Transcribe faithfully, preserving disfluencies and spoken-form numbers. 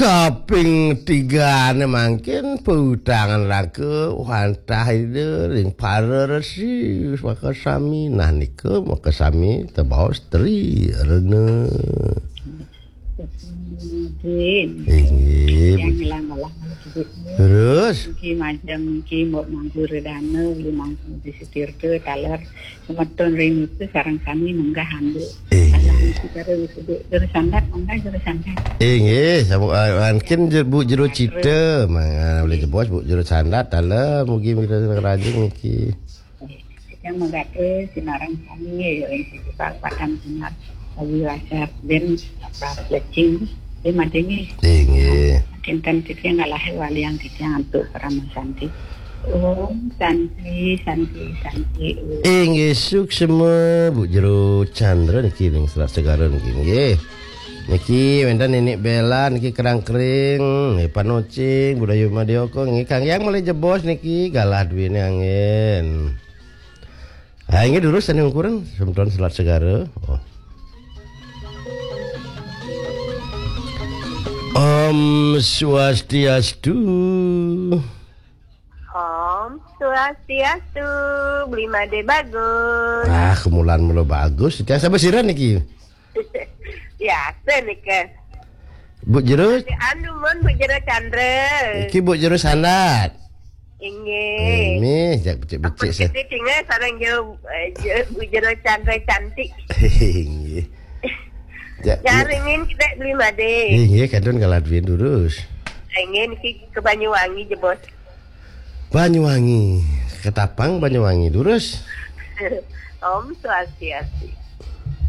Kaping tigané mangkin pautangan raga wantah Ida ring para resi makasami. Nah, nika makasami tebaos Tri Rena. Inggih. Yang ngelang-ngelang. Terus? Mugi majeng, mugi mbok mangku redana, uli mangku disitirta, taler semeton ring itu sareng sami munggah anduk. Inggih. Alah, mesti karo wisuda. Juru sandat, munggah juru sandat. Inggih, sampun, ah, mangkin je-, Bu Jero Cita, mangga uli jebos Bu Jero Sandat, taler, mugi-mugi rajin niki. Yang menggawe sinareng sami, ya, yang sisipal padang sinar, Awi Wajar, Ben, Pras Lecing, Ben Madenge. Inggih. Kinten titiang ngalahi waliang titiang antuk Parama Santi. Om Santi, Santi, Santi, Om. Inggih, suksma, Bu Jero Chandra niki ring Selat Segara niki, nggih. Niki wénten Nenek Bela niki Kerangkering, nggih, Panocing, Budaya Madioko, nggih, Kang Yang malih jebos niki, galah duwéné anggén. Ha, inggih durus sané ungkuran, semeton Selat Segara. Oh. Om Swastiastu. Om Swastiastu, Bli Made Bagus. Ah, kemulan mula bagus. Titiang sabar sira niki. Biasa nika. Bu Jero. Anu mun Bu Jero Chandra. Iki Bu Jero Sandat. Inggih. Ini jak becik-becik. Apa sa- kita tinggal sareng Jo, eh, Jo, Bu Jero Chandra cantik. Inggih. Jak. Jaringin kita Bli Made. Inggih, kadun galah duwéné durus. Inggih niki ke Banyuwangi jebos. Banyuwangi, Ketapang Banyuwangi durus. Om Swastiastu.